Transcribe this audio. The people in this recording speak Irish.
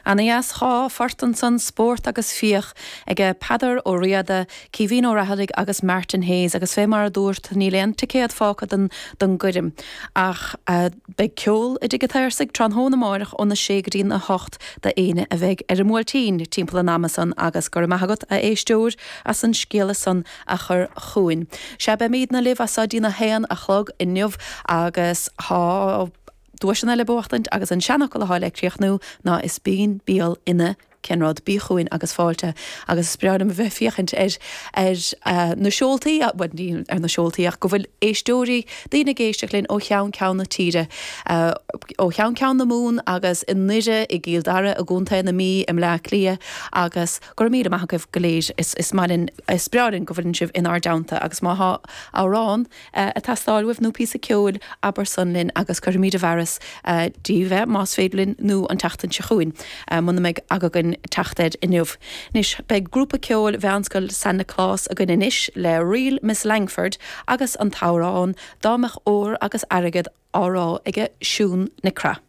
Ana dheas, 2 phort ansan, Spórt agus Fiach, aige Peadar Ó Riada, Caoimhín Ó Raghallaigh agus Martin Hayes agus fé mar a dúrt níl aon ticéad fágtha don don gcoirm ach beidh ceol i dTigh an tSaorsaigh tráthnóna amáireach óna sé go dtí na hocht d'éinne a bheidh ar an mBuailtín timpeall an ama san agus go raibh maith agat a éisteoir as an scéala san a chur chugainn. Sea beimídne libh as so dtí'n 1 a chlog inniu agus tá duaiseanna le buachtaint agus an seanfhocal atá le críochnú ná is binn bial ina cén rud, bí chugainn agus fáilte. Agus is breá liom a bheith ag féachaint ar ar na seoltaí, bhuel ní ar na seoltaí ach go bhfuil éisteoirí, daoine ag éisteacht linn ó cheann ceann na tíre, ó cheann ceann na Mumhan agus i nDoire, i gCill Dara, i gContae na Mí, i mBleá Cliath agus go raibh míle maith agaibh go léir. Is is maith linn, is breá linn go bhfuileann sibh inár dteannta agus má thá amhrán, ag teastáil uaibh nó píosa ceoil, abair san linn agus cuirfimid i bhfearas daoibh é, más féidir linn, nó an tseachtain seo chugainn, muna mbeidh aga againn teacht air inniu. Anois, beidh grúpa ceoil Mheánscoil San Nioclás againn anois le Ríl Miss Langford agus an t-amhrán 'Dá mbeadh ór agus airgead' á rá aige Siún Nic Craith.